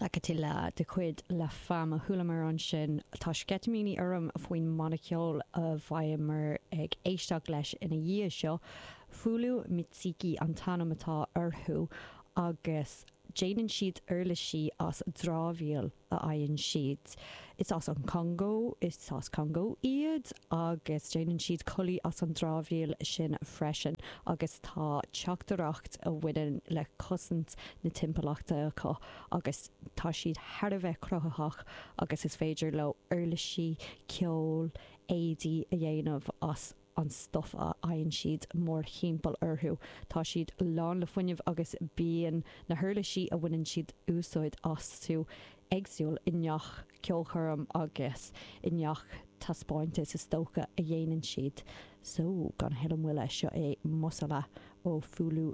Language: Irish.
Sakatila de chuid La Femme a chualamar ansin. Tá sceitimíní orm faoin mbanna ceoil a bheidheamar ag éisteacht leis ina dhiaidh seo. Fulu Miziki an t-ainm atá orthu agus déanann siad uirlisí as dramhaíl. a fhaigheann siad. Is as an Chongó, is as Congó iad agus déanann siad culaith as an dramhaíl sin freisin agus tá teachtaireacht a bhaineann le cosaint na timpeallachta acu agus tá siad thar a bheith cruthaitheach agus is féidir leo uirlisí ceoil, éadaí a dhéanamh as an stuif a fhaigheann siad mórthimpeall orthu. Tá siad lán le fuinneamh agus bíonn na huirlisí a bhaineann siad úsáid astu éagsúil i ngach ceolchoirm agus i ngach taispeántas is dócha a dhéanann siad. So, gan a thuilleadh moille, seo é Mossala ó Fulu.